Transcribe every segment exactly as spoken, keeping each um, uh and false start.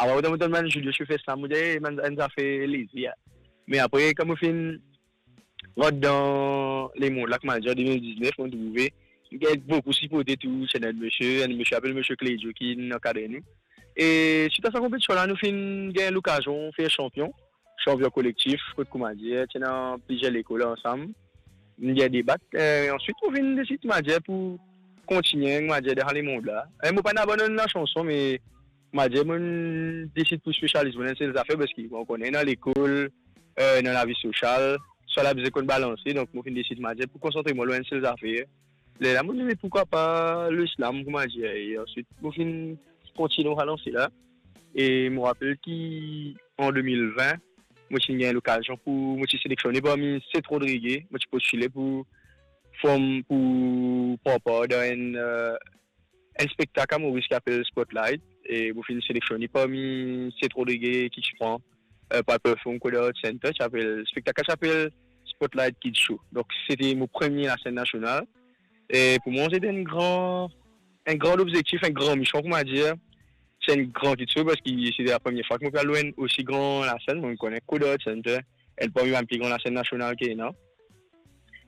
Apre, mo tann bann Julio Schiffer slam, mo dir, "Eh, bann, bann zafer leze, ya." Me apre, kan mo finn rant dan lemond la, koumadir, de mil diznef, mo trouve gagn boukou siporte tou, ti ena enn misie, enn misie apel misie Clédio ki inn ankadre nou. E swit a sa konpetision la, nou finn gagn lokazion fer sanpion, sanpion kolektif, kot, koumadir, ti ena plizier lekol ansam. Nou gagn de bak. E answit, mo finn desid, koumadir, pou kontigne, koumadir, dan lemond la. E mo pa'nn abandonn lasanson, me, koumadir, mo'nn desid pou spesializ mo dan enn sel zafer, parski, bon, ou kone, dan lekol, e, dan lavi sosial, swa la bizin konn balanse, donk mo finn desid, koumadir, pou konsantre mwa lor enn sel zafer. Lerla mo dir, "Me poukwa pa le slam, koumadir?" E answit, mo finn kontigne sa lanse la. E mo rapel ki an de mil vin, mo ti gagn lokazion pou, mo ti seleksionnen parmi set Rodrige, mo ti postile pou form, pou pran par dan enn, e, enn spektak a Moris ki apel Spotlight, e mo finn seleksionnen parmi set Rodrige ki ti pran, e, pou al perform kot Art Center, ti apel, spektak la ti apel Spotlight Kids Show. Donk, sete mo premie lasenn nasional. E pou mwa, sete enn gran, enn gran lobzektif, enn gran mision, koumadir. Se enn gran kiksoz, parski sete la premie fwa ki mo pe al lor enn osi gran lasenn. Mo kone kot Art Center, enn parmi bann pli gran lasenn nasional ki ena.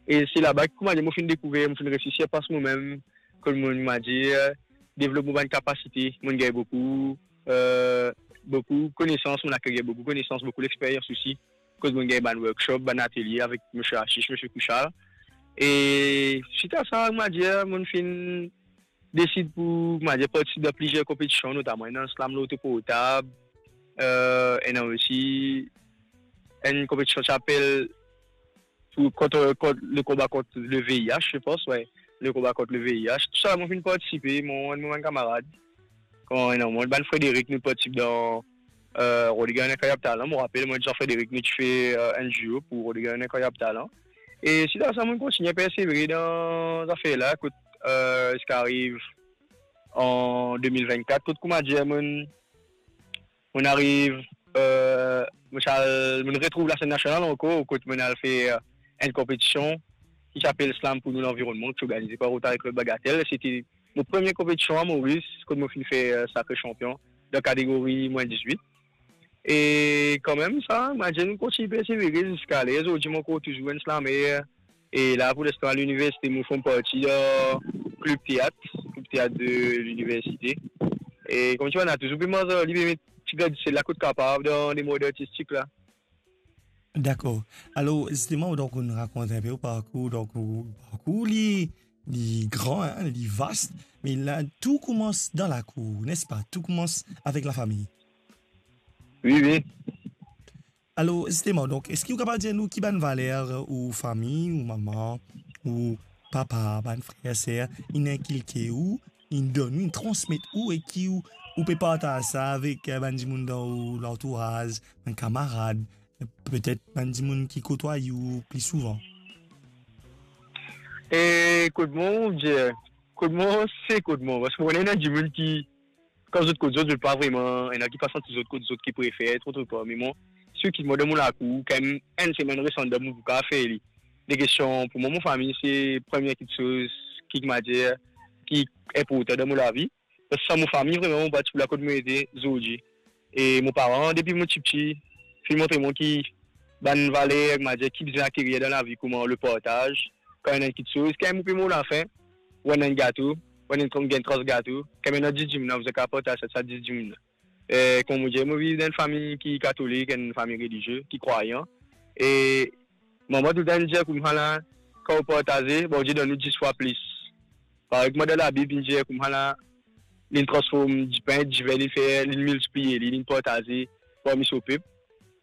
E se laba, koumadir, mo finn dekouver, mo finn resi sirpas momem, kot mo, koumadir, devlop mo bann kapasite, mo gagn boukou, e, boukou konesans, mo akekir boukou konesans, boukou lexperyans osi, kot mo gagn bann workshop, bann atelie avek misie Ashish, misie Kushal. E swit a sa, koumadir, mo finn desid pou, koumadir, partisip dan plizier konpetision, notaman enn slam loto portab, e, ena osi enn konpetision ki apel pou, kont, kont, le konba kont le V I H, je pense, ouais. Le konba kont le V I H. Tou sa, mo finn partisipe, mo, mo bann kamarad. Kan, non, mo, bann Frédéric, nou partisip dan, e, Rodrigue Inkroyab Talan. Mo rapel, mo, Jean Frédéric, nou ti fer, e, enn duo pou Rodrigue Inkroyab Talan. E swit a sa, mo kontigne persevere dan zafer la, kot, e, ziska ariv an de mil vennkat, kot, koumadir, mo, mo ariv, e, mo ti al, mo retrouv lasenn nasional ankor, kot mo al fer, e, enn konpetision ki ti apel Slam pou nou lanvironnman, ki ti organize par Rotary Club Bagatelle. Sete mo premie konpetision a Moris, kot mo finn fer, e, sakre sanpion dan kategori mwin dizwit. E kanmem sa, mo dir, mo kontign persevere ziska ler zordi, mo ankor touzour enn slamer. E la, pou linstan, liniversite, mo form parti dan klib teat, klib teat de liniversite. E kouma ti dir, mo touzour pe manz li, pe met ti grin disel la kot kapav dan lemond artistik la. Dakor. Alor, zisteman, donk, ou rakont enpe ou parkour. Donk, ou parkour, li, li gran, hein, li vas. Me la, tou koumans dan lakour, nespa? Tou koumans avek lafami. Wi, wi. Alor, zisteman, donk, eski ou kapav dir nou ki bann valer ou fami, ou mama, ou papa, bann frer, ser, inn inkilke ou, inn donn ou, inn transmet ou, e ki ou, ou pe partaz sa avek, eh, bann dimoun dan ou lantouraz, bann kamarad, petet bann dimoun ki kotway ou pli souvan? E kot mwa, mo dir, kot mwa, se kot mwa. Parski mo konn ena dimoun ki, kan zot kot zot, zot pa vreman, ena ki pa santi zot kot zot, ki prefer tro, tro par. Me mwa, si ou kit mwa dan mo lakour, kan mem enn semenn res andan, mo pou kapav fer li. De kestion, pou mwa, mo fami, se premie kiksoz ki, kouma dir, ki inportan dan mo lavi. Parski san mo fami, vreman, mo pa ti pou la kot mo ete zordi. E mo paran, depi mo tipti, finn montre mwa ki bann valer, kouma dir, ki bizin akerir dan lavi, kouma le partaz. Kan ena enn kiksoz, kan mo pe mor lafin, ou ena enn gato, ou ena enn tran-, gagn trans gato, kan ena dis dimoun, ou bizin kapav partaz sa, sa dis dimoun la. E, kouma mo dir, mo viv dan enn fami ki katolik, enn fami relizie, ki krwayan. E manman toultan dir koumsa la, kan ou partaze, Bondie donn ou dis fwa plis. Parey kouma dan Labib, li dir koumsa la, linn transform dipin, diven, linn fer, linn miltipliye li, linn partaze parmi so pep.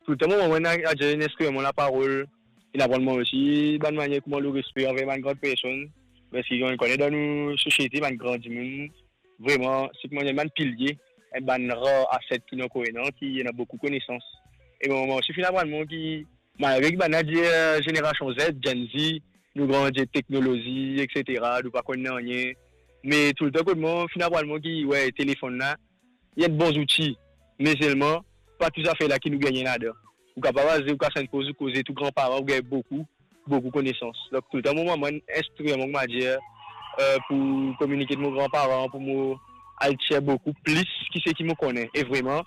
Toultan mo manman ena, ena enn instriman laparol, linn aprann mwa osi bann manier kouma le respe anver bann gran personn. Parski, ou konn, dan nou sosiete, bann gran dimoun, vreman, se kouma dir bann pilie, enn bann rar aset ki nou ankor ena, ki ena boukou konesans. E mo manman osi finn aprann mwa ki, malgre ki bann la dir, eh, zenerasion Z, Gen Z, nou grandi ek teknolozi, et cetera, nou pa konn nanye. Me toultan kot mwa, finn aprann mwa ki, we, telefonn la, li enn bon zouti, me selman, pa tou zafer la ki nou gagne ladan. Ou kapav al, ou kapav al poz ou koze tou granparan, ou gagn boukou, boukou konesans. Donk, toultan, mo manman inn instrir mwa, kouma dir, eh, pou kominike ek mo granparan, pou mo al tir boukou plis ki seki mo kone. E vreman,